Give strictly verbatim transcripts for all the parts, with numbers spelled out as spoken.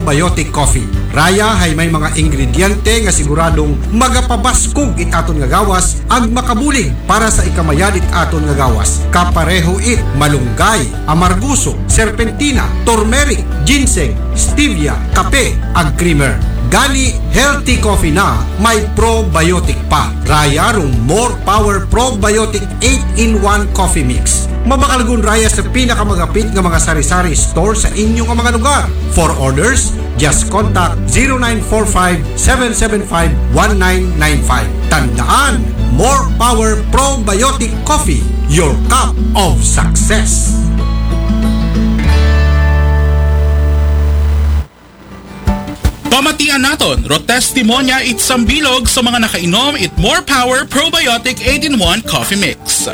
Probiotic Coffee. Raya hay may mga ingrediente nga siguradong magapabaskog it aton nga gawas ag makabulig para sa ikamayad it aton nga gawas. Kapareho it malunggay, amargoso, serpentina, turmeric, ginseng, stevia, kape, ag creamer. Gani, healthy coffee na may probiotic pa. Raya rong More Power Probiotic eight-in-one Coffee Mix. Mabakalgon raya sa pinakamagapit nga mga sari-sari store sa inyo nga mga lugar. For orders, just contact zero nine four five, seven seven five, one nine nine five. Tandaan, More Power Probiotic Coffee, your cup of success. Pamatian naton, ro testimonya it sambilog sa mga nakainom it More Power Probiotic eight-in-one Coffee Mix.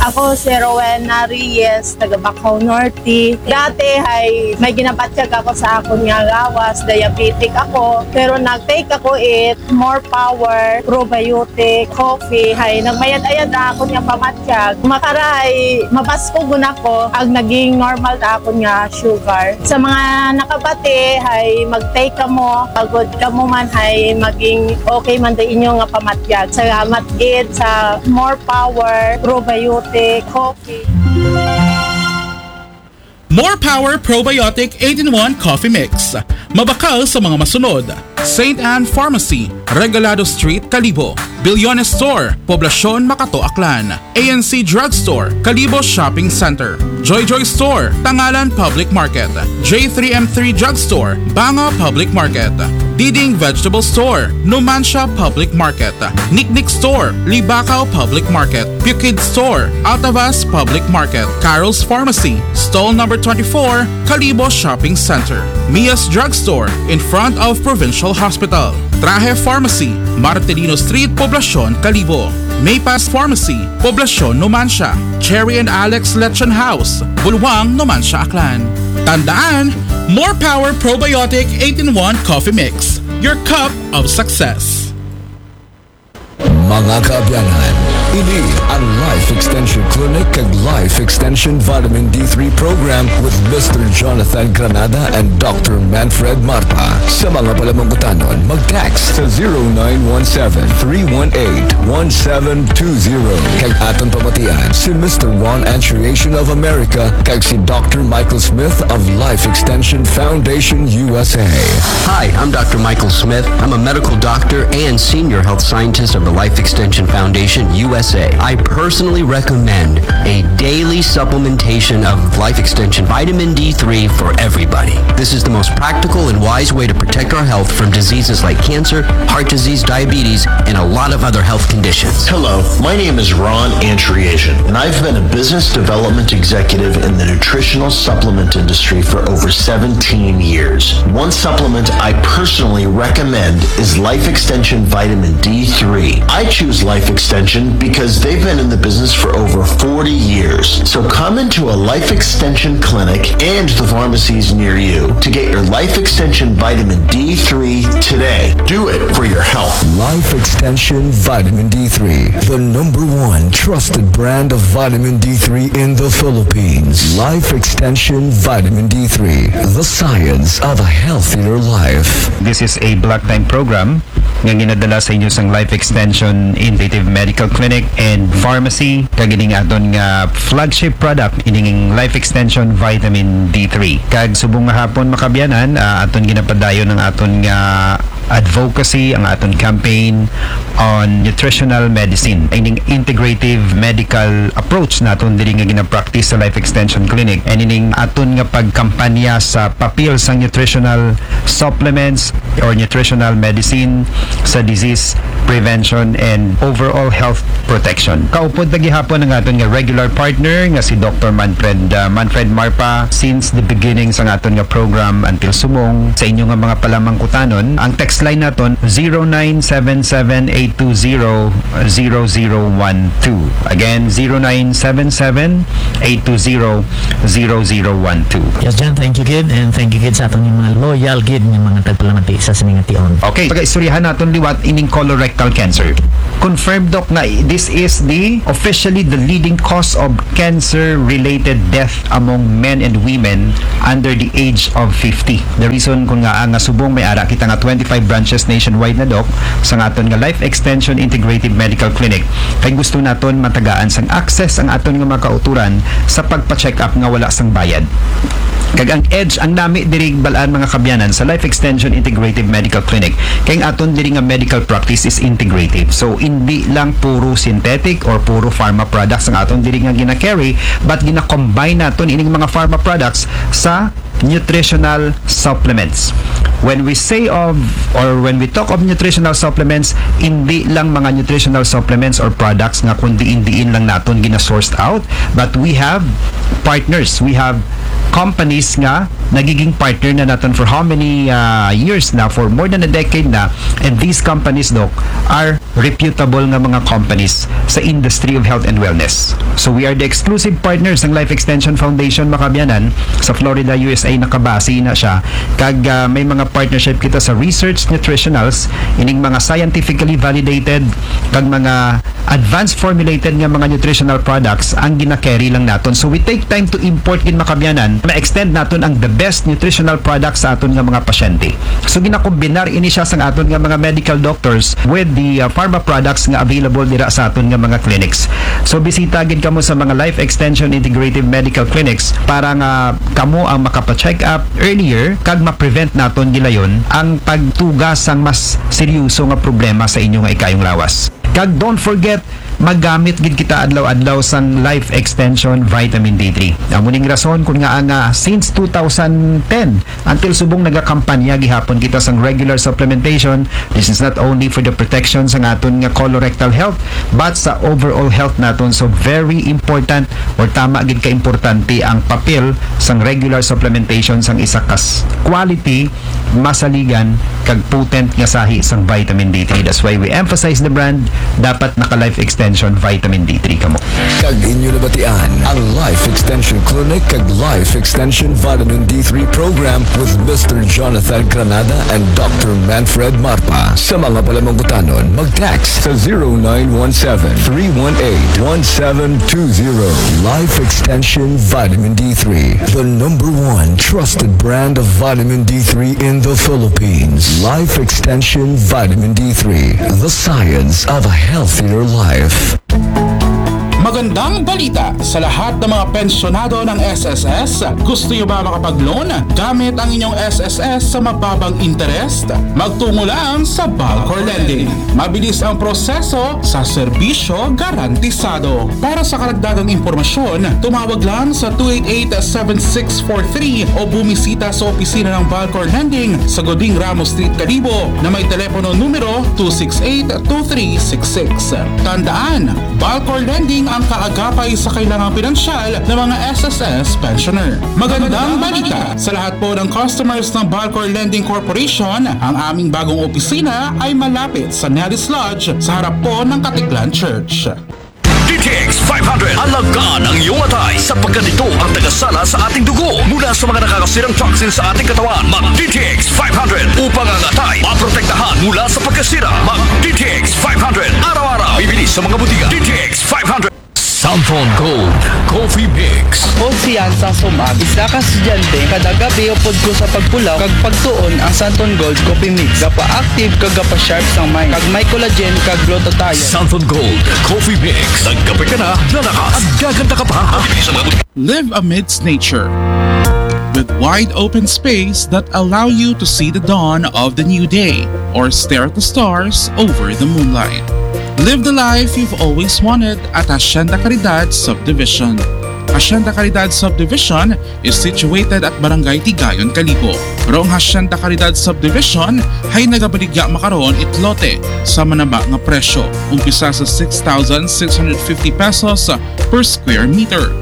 Ako si Rowena Reyes, taga Bacau Norte. Dati ay may ginapatyag ako sa akon nga gawas, diabetic ako. Pero nag-take ako it More Power Probiotic Coffee. Hay nagmayad-ayad na akon nga pamatyag. Makaray, mabaskog na ako ag naging normal na akon nga sugar. Sa mga nakabati, hay mag-take kamo. Agod kamo man hay maging okay man da inyo nga pamatyag. Salamat gid sa More Power Probiotic Coffee. More Power Probiotic eight-in-one Coffee Mix. Mabakal sa mga masunod: Saint Anne Pharmacy, Regalado Street, Kalibo. Bilyones Store, Poblacion, Makato, Aklan. A N C Drugstore, Kalibo Shopping Center. Joy Joy Store, Tangalan Public Market. J three M three Drugstore, Banga Public Market. Diding Vegetable Store, Numancia Public Market. Niknik Store, Libacao Public Market. Pukid Store, Altavas Public Market. Carol's Pharmacy, Stall Number twenty-four, Kalibo Shopping Center. Mia's Drugstore, in front of Provincial Hospital. Trahe Pharmacy, Martelino Street, Poblacion, Kalibo. Maypass Pharmacy, Poblacion, Numancia. Cherry and Alex Lechon House, Bulwang, Numancia, Aklan. Tandaan, More Power Probiotic eight-in-one Coffee Mix, your cup of success. Mga kaabyanan, ini ang Life Extension Clinic kag Life Extension Vitamin D three Program with Mister Jonathan Granada and Doctor Manfred Marpa. Sa mga palamangkutanon, mag-text sa zero nine one seven, three one eight, one seven two zero. Kag aton pamatian si Mister Ron Antriation of America kag si Doctor Michael Smith of Life Extension Foundation U S A. Hi, I'm Doctor Michael Smith. I'm a medical doctor and senior health scientist of the Life Extension Foundation U S A. I personally recommend a daily supplementation of Life Extension Vitamin D three for everybody. This is the most practical and wise way to protect our health from diseases like cancer, heart disease, diabetes, and a lot of other health conditions. Hello, my name is Ron Antriation, and I've been a business development executive in the nutritional supplement industry for over seventeen years. One supplement I personally recommend is Life Extension Vitamin D three. I choose Life Extension because they've been in the business for over forty years. So come into a Life Extension clinic and the pharmacies near you to get your Life Extension Vitamin D three today. Do it for your health. Life Extension Vitamin D three, the number one trusted brand of vitamin D three in the Philippines. Life Extension Vitamin D three, the science of a healthier life. This is a block time program nga ginadala sa inyo sang Life Extension Integrative Medical Clinic and Pharmacy, kag ining aton nga flagship product, ining Life Extension Vitamin D three. Kag subong nga hapon, makabyanan, ah, aton ginapadayon ang aton nga advocacy, ang aton campaign on nutritional medicine, ining integrative medical approach naton diri nga ginapractice sa Life Extension Clinic, and ining aton nga pagkampanya sa papel sang nutritional supplements or nutritional medicine sa disease prevention and overall health protection. Kaupod ta gihapon ang aton nga regular partner nga si Doctor Manfred, ah, Manfred Marpa since the beginning sang aton nga program until subong. Sa inyo nga mga palamangkutanon, ang text line naton, zero nine seven seven eight two zero zero zero one two. Again, zero nine seven seven eight two zero zero zero one two. Yes, John, thank you gid, and thank you gid sa aton mga loyal gid nga mga tagpalamati sa sining nga tion. Okay, pagaistoryahan naton liwat ining colorectal cancer. Confirmed, Doc, nga this is the officially the leading cause of cancer-related death among men and women under the age of fifty. The reason kun ngaa nga subong may ara kita nga twenty-five branches nationwide na, Doc, sa aton nga Life Extension Integrative Medical Clinic, kay gusto naton matagaan sang access ang aton nga mga kauturan sa pagpa-check up nga wala sang bayad. Kag ang edge, ang nami diri bal-an, mga kaabyanan, sa Life Extension Integrative Medical Clinic, kay ang aton diri nga medical practice is integrative. So, hindi lang puro synthetic or puro pharma products ang aton diri nga gina-carry, but gina-combine naton ining mga pharma products sa nutritional supplements. When we say of, or when we talk of nutritional supplements, hindi lang mga nutritional supplements or products nga kun diin-diin lang naton gina-sourced out, but we have partners, we have companies nga nagiging partner na naton for how many uh, years na, for more than a decade na, and these companies, Doc, are reputable nga mga companies sa industry of health and wellness. So we are the exclusive partners ng Life Extension Foundation, mga kaabyanan, sa Florida, U S A, nakabase na siya. Kag uh, may mga partnership kita sa research nutritionals, ining mga scientifically validated kag mga advanced formulated nga mga nutritional products ang gina-carry lang naton. So we take time to import gid, mga kaabyanan, ma-extend naton ang the best nutritional products sa aton nga mga pasyente. So ginakombinar ini siya sang aton nga mga medical doctors with the uh, pharma products nga available dira sa aton nga mga clinics. So bisita gid kamo sa mga Life Extension Integrative Medical Clinics para nga kamo ang makapa-check up earlier kag ma-prevent naton gilayon ang pagtuga sang mas seryoso nga problema sa inyo nga ikayong lawas. Kag don't forget, magamit gid kita adlaw-adlaw sang Life Extension Vitamin D three. Amo ning rason kun ngaa nga since two thousand ten until subong nagakampanya gihapon kita sang regular supplementation. This is not only for the protection sang aton nga colorectal health, but sa overall health naton. So very important, or tama gid ka importante, ang papel sang regular supplementation sang isa ka s- quality, masaligan, kag potent nga sahi sang vitamin D three. That's why we emphasize the brand. Dapat naka Life Extension Vitamin D three kamo. Kag inyo nabatian ang Life Extension Clinic kag Life Extension Vitamin D three Program with Mister Jonathan Granada and Doctor Manfred Marpa. Sa mga palamangkutanon, mag-text sa zero nine one seven, three one eight, one seven two zero. Life Extension Vitamin D three, the number one trusted brand of vitamin D three in the Philippines. Life Extension Vitamin D three, the science of a healthier life. Magandang balita sa lahat ng mga pensyonado ng S S S. Gusto nyo ba makapag-loan gamit ang inyong S S S sa mababang interest? Magtungo lang sa Balcor Lending. Mabilis ang proseso sa serbisyo garantisado. Para sa karagdagang impormasyon, tumawag lang sa two eight eight, seven six four three o bumisita sa opisina ng Balcor Lending sa Goding Ramos Street, Kalibo, na may telepono numero two six eight, two three six six. Tandaan, Balcor Lending ang kaagapay sa kailangang pinansyal ng mga S S S pensioner. Magandang balita sa lahat po ng customers ng Balcor Lending Corporation. Ang aming bagong opisina ay malapit sa Nellis Lodge sa harap po ng Katiklan Church. D T X five hundred. Alagaan ang iyong atay sapagkat ito ang tagasala sa ating dugo mula sa mga nakakasirang toxin sa ating katawan. Mag D T X five hundred upang ang atay maprotektahan mula sa pagkasira. Mag D T X five hundred araw-araw. Bibili sa mga butika. D T X five hundred. Santon Gold Coffee Mix. Ako si Yan Sang Sumag, isa ka estudyante. Kada gabi upod ko sa pagpulaw kag pagtuon ang Santon Gold Coffee Mix. Gapa-active kag gapa-sharp sang mind. Kag may collagen kag glutathione. Santon Gold Coffee Mix. Nagkape ka na, lalakas at gaganda ka pa. Bibili sa mga butika. Live amidst nature, with wide open space that allow you to see the dawn of the new day or stare at the stars over the moonlight. Live the life you've always wanted at Hacienda Caridad Subdivision. Hacienda Caridad Subdivision is situated at Barangay Tigayon, Kalibo. Rong Hacienda Caridad Subdivision ay nagabaligya makaron it lote sa manaba nga presyo, umpisa sa six thousand six hundred fifty pesos per square meter.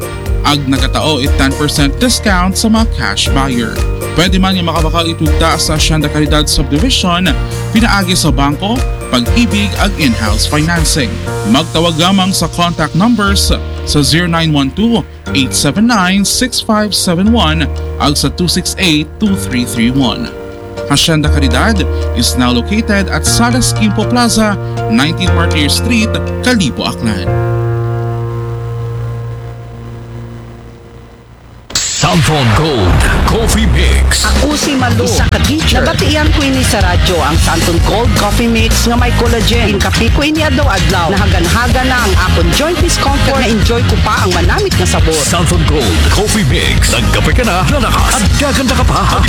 Ag nagatao it ten percent discount sa mga cash buyer. Pwede man nga makabakal itud ta sa Hacienda Caridad Subdivision, pinaagi sa bangko, pag-ibig ag in-house financing. Magtawag lamang sa contact numbers sa zero nine one two, eight seven nine, six five seven one ag sa two six eight, two three three one. Hacienda Caridad is now located at Salas Quimpo Plaza, nineteen Martyr Street, Kalibo, Aklan. Santon Gold Coffee Mix. Ako si Malu, isa ka teacher. Nabatian ko ini sa radyo, ang Santon Gold Coffee Mix nga may collagen. Ginkape ko ini adlaw-adlaw. Nahagan-hagan na ang akon joint discomfort. Na-enjoy ko pa ang manamit nga sabor. Santon Gold Coffee Mix. Nagkape ka na, lalakas at gaganda ka pa.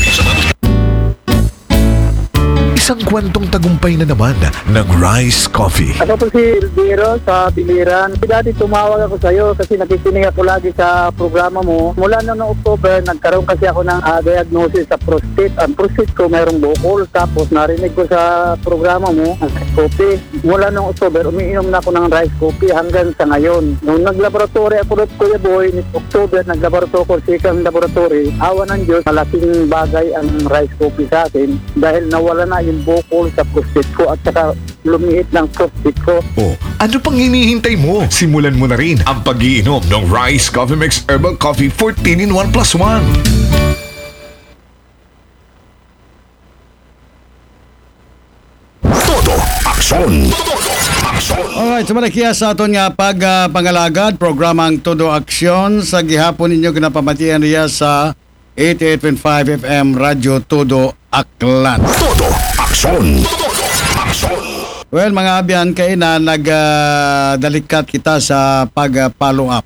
Isang kwentong tagumpay na naman ng Rice Coffee. Ako po si Elviro sa Biliran. Dati tumawag ako sa iyo kasi nakikinig ako lagi sa programa mo. Mula noong October, nagkaroon kasi ako ng ah, diagnosis sa prostate. Ang prostate ko mayroong bukol. Tapos narinig ko sa programa mo, ang rice coffee. Mula noong October, umiinom na ako ng rice coffee hanggang sa ngayon. Nung naglaboratory ako doon, Kuya Boy, ni October, naglaboratory ako, second laboratory. Awa ng Diyos, malaking bagay ang rice coffee sa akin dahil nawala na yung bukol sa prostate ko at saka lumiit ng prostate ko. O, ano pang hinihintay mo? Simulan mo na rin ang pag-iinom ng Rice Coffee Mix Herbal Coffee fourteen in one plus one. Todo aksyon. Todo aksyon. Alright, sumala kiya sa aton nga pag ah, pangalagad, programang Todo Aksyon sa gihapon ninyo kinapamatian riya sa eighty-eight point five F M Radyo Todo Aklan. Todo aksyon. Todo aksyon. Well, mga abyan, kay na nagdalikat kita sa pag-follow up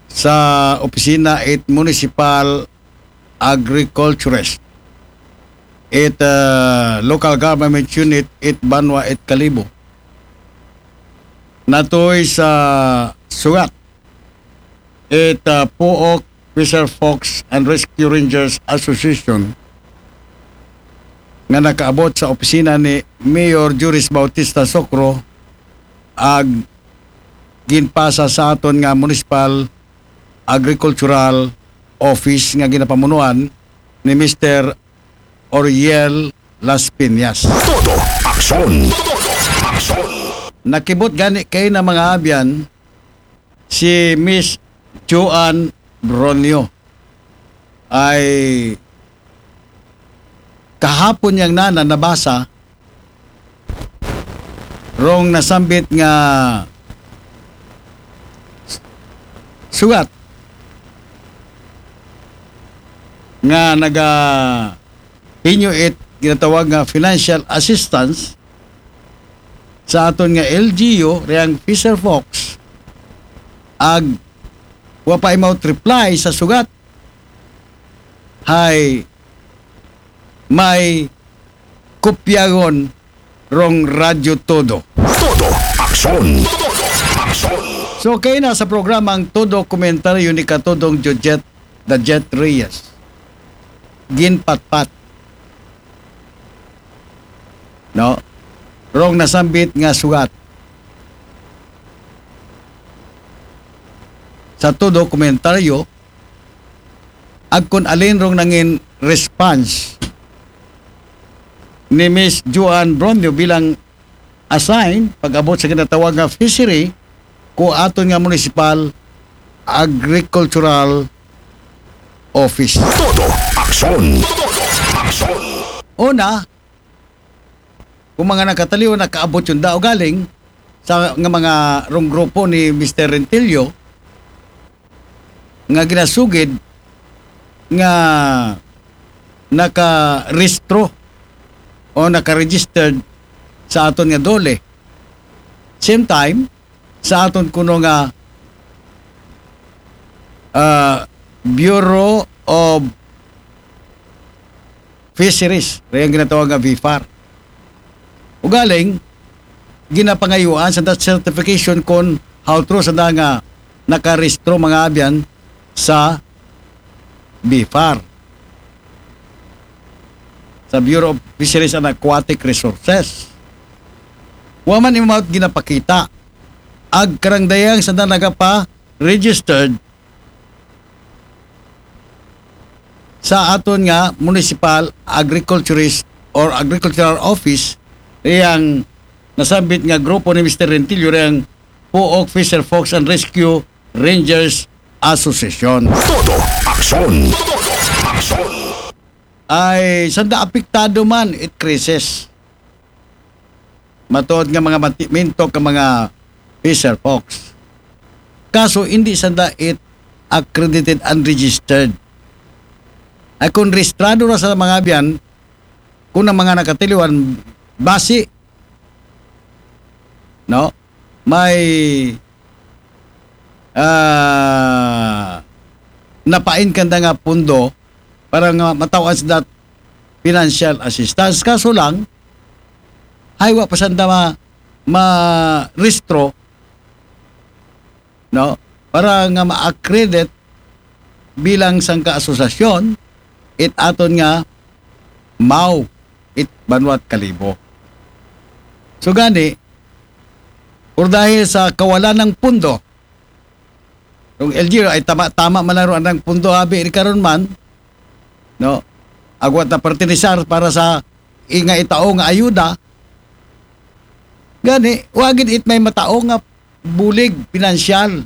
sa opisina it municipal agriculturist, it uh, local government unit, it Banwa, it Kalibo. Natoy sa sugat, it uh, Puok Fisher Fox and Rescue Rangers Association nga nakaabot sa opisina ni Mayor Juris Bautista Socro ag ginpasa sa aton nga municipal agricultural office nga ginapamunuan ni Mister Oriel Las Piñas. Todo aksyon. Todo aksyon. Nakibot gani kay na mga abyan si Miss Joan Bronio ay kahapon niyang nana nabasa rong nasambit nga sugat nga naga hinyo it ginatawag nga financial assistance sa aton nga L G U riyang Fisher Fox ag wa pa imawt reply sa sugat. Hay may kopyagon rong Radyo Todo. Todo aksyon. Todo aksyon. So kay na sa programang Todo Komentaryo ni Katodong Jojet, the Jet Reyes, ginpatpat, no, rong nasambit nga sugat sa Todo Komentaryo, agkon alin rong nangin response ni Miss Joan Bronio bilang assign pag-abot sa ginatawag nga fishery ko aton nga municipal agricultural office. Todo aksyon. Todo aksyon. Una, kung mga nakataliw, nakaabot yung dao galing sa nga mga rong grupo ni Mister Rentillo nga ginasugid nga nakarehistro o naka-registered sa aton nga DOLE. Same time, sa aton kuno nga ah, Bureau of Fisheries, riyang ginatawag nga BFAR. Ugaling, ginapangayuan sa that certification kung how true sa nga nakarehistro mga abyan sa BFAR, sa Bureau of Fisheries and Aquatic Resources. Wa man imawt ginapakita ag karangdayang sa nagapa-registered sa aton nga municipal agriculturist or agricultural office, riyang nasambit nga grupo ni Mister Rentillo, riyang Puok Fisher Fox and Rescue Rangers Association. Todo aksyon. Todo aksyon. Ay sanda apektado man it krisis. Matuod nga mga mantimintok nga mga fisher fox. Kaso hindi sanda it accredited and registered. Ay kung rehistrado ra sa mga abyan, kung ang mga nakatiliwan, basi, no? May ah napain kanda nga pundo para nga mataw-an sa dat financial assistance. Kaso lang, hay wa pa sanda ma, ma-rehistro, no? Para nga ma-accredit bilang sangka asosasyon, it aton nga MAU, it Banwat Kalibo. So gani, or dahil sa kawalan ng pundo, yung L G U ay tama, tama man lang ro anang pundo abi ni karon man, no? Agwat na pertenisar para sa inga itao nga ayuda. Gani, wagid it may matao nga bulig pinansyal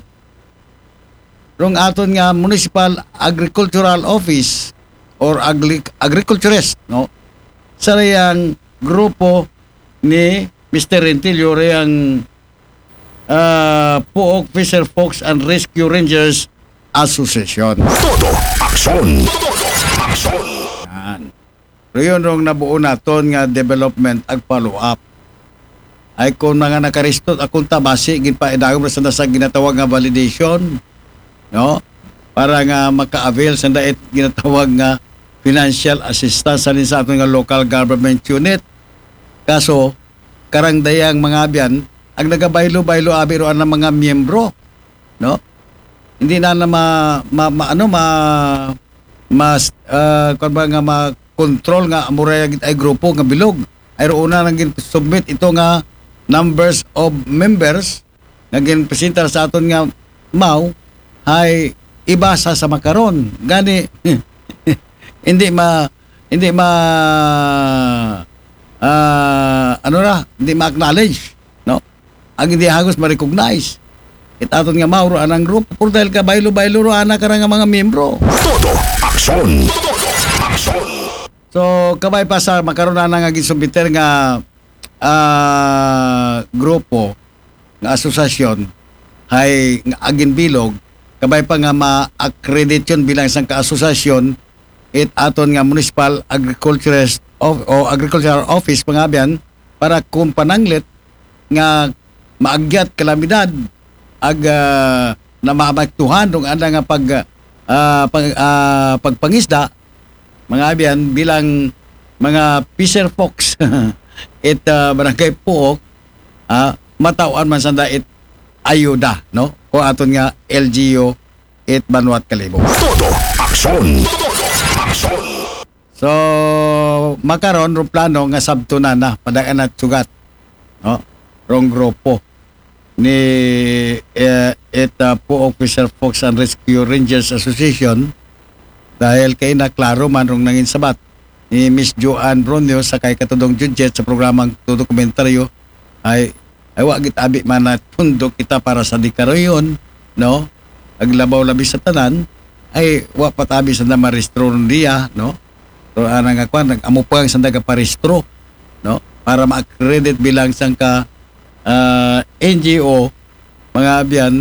rong aton nga Municipal Agricultural Office or agri- agriculturist, no? Sa riyang grupo ni Mister Rentillo, riyang ah, Puok Fisher Fox and Rescue Rangers Association. Todo aksyon. Todo aksyon. Yan. Pero yun rong nabuo naton nga development ag follow-up. Ay kung mga nakaristot akong tabasi, ginpaidagom na sa nasa ginatawag nga validation, no? Para nga maka-avail sa dait ginatawag nga financial assistance sa sa aton nga local government unit. Kaso, karang dayang mga abyan, ang nagabaylo-baylo abi ro ang mga miyembro, no? Hindi na na ma, ma, ma- ano ma mas uh, ba nga ma-control nga amura gid ay grupo nga bilog. Ay roon na nang submit ito nga numbers of members nga ginpresentar sa aton nga MAU, hay iba sa sa makaron. Gani, hindi ma hindi ma ah, ano ra, hindi ma-acknowledge, no? Ang hindi hagos ma-recognize. It aton nga MAU ro anang grupo, pero dahil ka baylo-baylo ro ana ka nga mga miyembro. Todo aksyon. Todo aksyon. So, kabay pa sa makaron na nga gisubmiter nga ah, grupo, nga asosasyon, hay nga agin bilog, kabay pa nga ma-accredit yun bilang isang kaasosasyon, it aton nga municipal agriculturist of, o agricultural office, mga abyan, para kung pananglit nga maagyat kalamidad, ag ah, na maapektuhan rong anda nga pag ah, pag, ah, pagpangisda, mga abyan, bilang mga fisher folks it ah, barangay Puok, ah, matawan man sanda it ayuda, no? Ko aton nga L G U it Banwat Kalibo. Todo aksyon. Todo aksyon. So, makaron ro plano nga sabto na na, padagan na sugat, no? Rong grupo ni eh, it uh, Puok Fisher Folks and Rescue Rangers Association, dahil kay na klaro man rong nangin sabat ni Miss Joanne Bronio sa kay Katudong Judget sa programang Todo Komentaryo, ay ay wa git abi man na pundo kita para sa dikaroyon, no? Aglabaw labi sa tanan, ay wa patabi sa na maristro diya, no? So ana nga kwan, nag-amo pa ang sanda paristro, no? Para ma-accredit bilang sangka ah, N G O, mga abyan,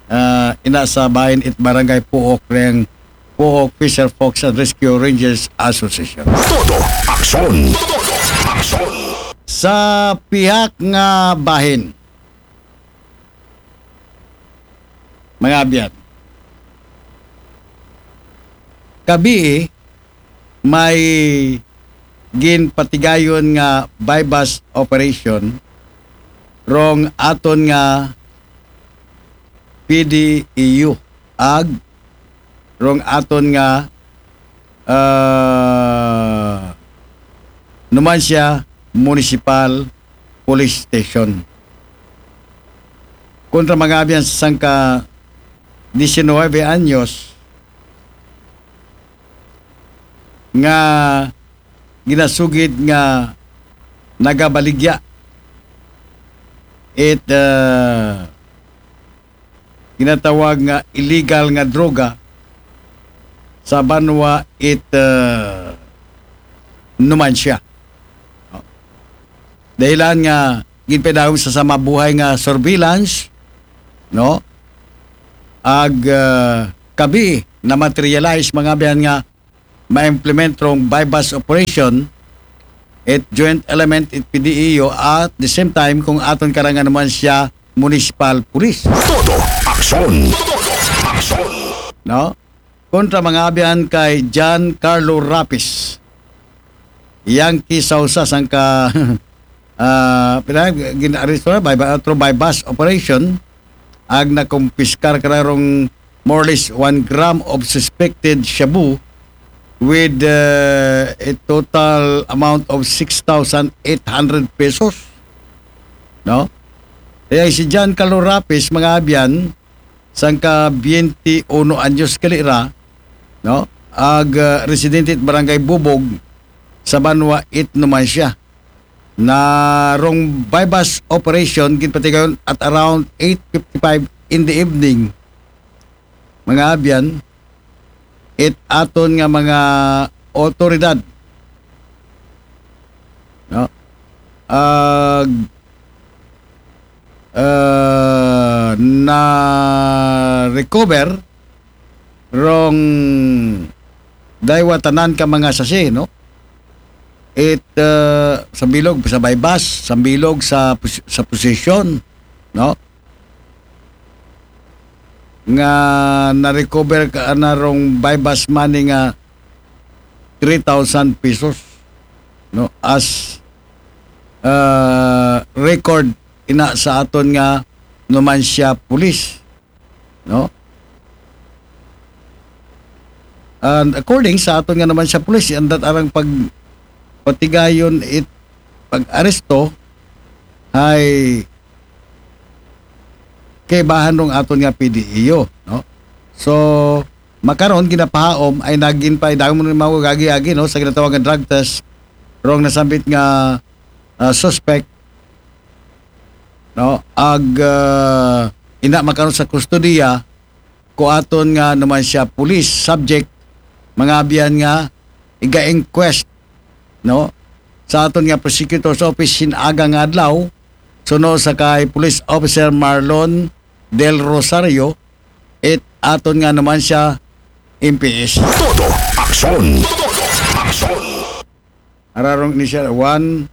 ah, ina sa bahin it barangay Puok reng Puok Fisher Folks and Rescue Rangers Association. Todo aksyon. Todo aksyon. Sa pihak nga bahin, mga abyan, kabii may ginpatigayon nga buy-bust operation rong aton nga P D E U ag rong aton nga ah, Numancia Municipal Police Station kontra mga abyan sa sangka diecinuebe anyos nga ginasugid nga nagabaligya it, ah, ginatawag nga illegal nga droga sa banwa it, ah, Numancia. Dahilan nga ginpadagom sa sama buhay nga surveillance, no? Ag, ah, kabi na materialize, mga abyan, nga ma-implement rong buy-bust operation it joint element it P D E O at the same time kung aton karang nga Numancia Municipal Police. Todo aksyon. Todo aksyon. No? Kontra, mga abyan, kay John Carlo Rapis. Yankee Sausa, sangka, ah, pina-, gin-aresto na by, through buy-bust operation, ag nakumpiskar kararong more or less one gram of suspected shabu with, uh, a total amount of six thousand eight hundred pesos. No? Kaya si John Carlo Rapis, mga abyan, sangka twenty-uno anyos gali ra, no? Ag, uh, residente it Barangay Bubog sa banwa it Numancia. Na rong buy-bust operation ginpatigayon at around eight fifty-five in the evening, mga abyan, it aton nga mga otoridad, no? Ag, ah, na recover rong daywa tanan ka mga sasi, no? It, ah, sambilog sa buy-bust, sambilog sa pos-, sa possession, no? Nga na-recover ka na rong buy-bust money nga three thousand pesos, no? As, ah, record ina sa aton nga Numancia Police, no? And according sa aton nga Numancia Police, andam arang pag-, patigayon it pag-aresto ay kaibahan rong aton nga P D E O, no? So, makaron ginapahaom ay nagin pa, damo ni mga agi-agi, no, sa ginatawag nga drug test rong nasambit nga, ah, suspect, no? Ag, ah, ina makaron sa kustodiya ko aton nga Numancia Police, subject, mga abyan, nga iga-inquest, no, sa aton nga prosecutor's office sin aga nga adlaw, suno sa kay Police Officer Marlon Del Rosario, it aton nga Numancia M P S. Todo aksyon. Todo aksyon. Ararong initial one,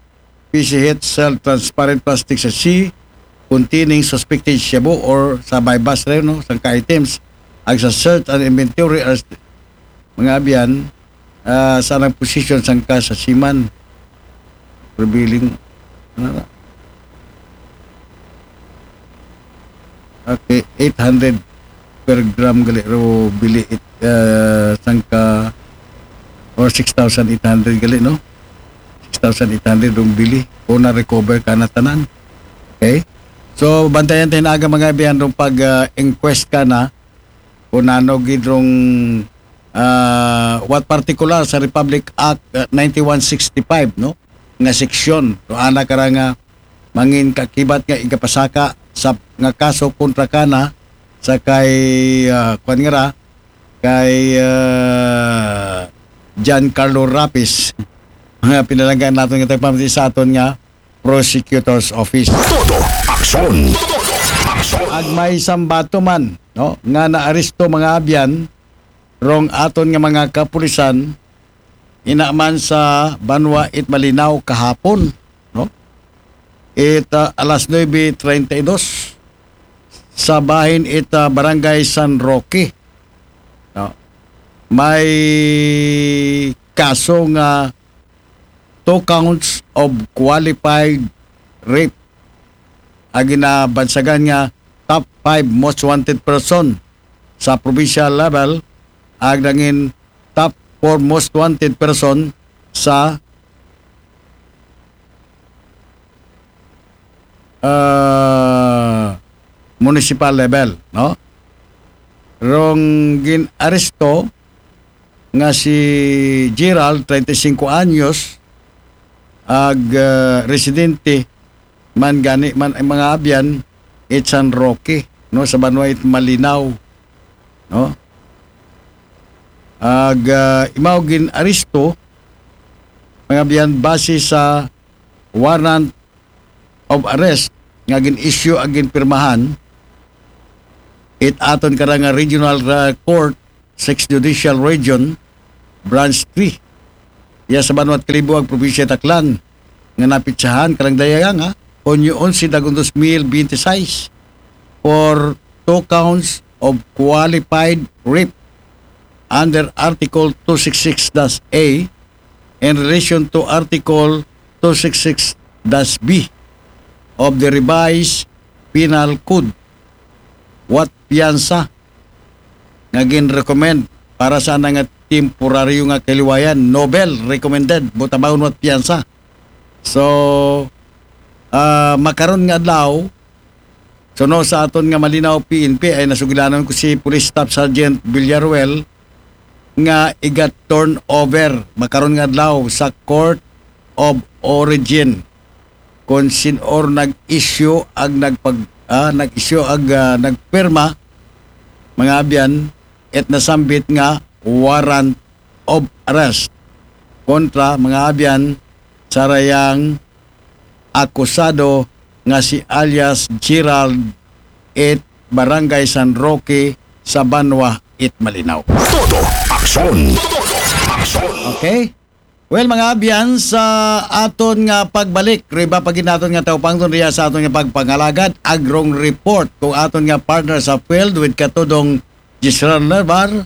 P C H sealed transparent plastic sachet containing suspected shabu or sa buy-bust rin, no, sangka items. Ag sa search and inventory as mga abyan, ah, sa anang position sangka sachet man. Prevailing. Ano na? Okay, eight hundred per gram gali ro bili it, ah, sangka or six thousand eight hundred gali, no? Six thousand eight hundred rong bili. O na-recover ka na tanan. Okay? So, bantayan tayo na aga mga abyan rong pag, ah, inquest ka na kung nano gid rong, ah, what particular sa Republic Act, ah, ninety-one sixty-five, no? Nga seksyon. So, ana kara nga mangin kakibat nga igapasaka sa nga kaso kontra kana sa kay, ah, kwan nga ra, kay, ah, Giancarlo Rapis. Nga pinalangga naton nga tagpamati sa aton nga prosecutor's office. Todo aksyon. Todo aksyon. Ag may sambato man, no, nga naaresto mga abyan rong aton nga mga kapulisan, ina man sa banwa it Malinao kahapon, no? It, ah, alas nuebe treinta y dos sa bahin it, ah, Barangay San Roque, no? May kaso nga two counts of qualified rape. Agi na bansagan nga top five most wanted person sa provincial level, ag nangin top four most wanted person sa, ah, municipal level, no? Rong gin-aresto nga si Gerald, treinta y cinco anyos, ag ah, residente man gani man, mga abyan, it San Roque, no, sa banwa it Malinaw, no? Ag ah, imaw gin-aresto, mga abyan, base sa warrant of arrest nga gin-issue ag ginpirmahan it aton karang nga Regional ah, Court, Sixth Judicial Region, Branch three, iya sa banwa it Kalibo ag probinsya it Aklan, nga napitsahan karang dayang nga Hunyo onse, dagong dos mil binte sais, for two counts of qualified rape under Article two six six dash A in relation to Article two six six dash B of the Revised Penal Code, without piyansa nga gin-recommend para sa ana nga temporaryo nga kaliwayan. No bail recommended, but amount without piyansa. So, ah, makaron nga adlaw, suno sa aton nga Malinaw P N P, ay nasugilanon ko si Police Staff Sergeant Villaruel nga iga-turnover makaron nga adlaw sa Court of Origin kung sin-o nag-issue ag nagpag ah, nag-issue ag ah, nagpirma, mga abyan, it nasambit nga warrant of arrest kontra, mga abyan, sa dayang akusado nga si alias Gerald, it Barangay San Roque, sa banwa it Malinaw. Todo aksyon. Todo aksyon. Okay? Well, mga abyan, sa aton nga pagbalik, riba pa gid naton nga taupangton riya sa aton nga pagpangalagad, agrong report kung aton nga partner sa field with katudong Giselle Nervar,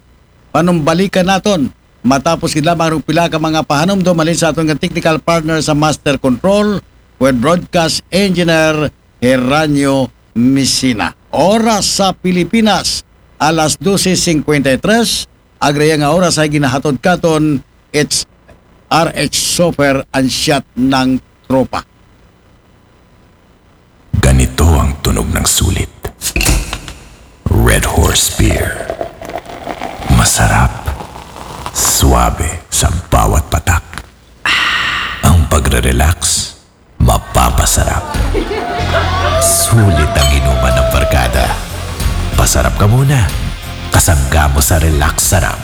panumbalikan naton matapos gid lamang rong pila ka mga pahanumdom halin sa aton nga technical partner sa Master Control with Broadcast Engineer Heranio Messina. Oras sa Pilipinas, alas dose singkwenta y tres, ag riya nga oras ay ginahatod katon, it's R H Sofer and Shot ng Tropa. Ganito ang tunog ng sulit. Red Horse Beer. Masarap. Suabe sa bawat patak. Ang pagre-relax, mapapasarap. Sulit ang inuman ng barkada. Pasarap ka muna. Kasangga mo sa relax sarap.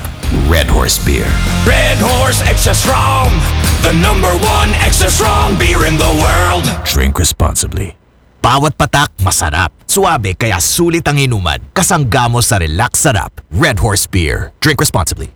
Red Horse Beer. Red Horse Extra Strong, the number one extra strong beer in the world. Drink responsibly. Bawat patak, masarap. Suabe, kaya sulit ang inuman. Kasangga mo sa relax sarap. Red Horse Beer. Drink responsibly.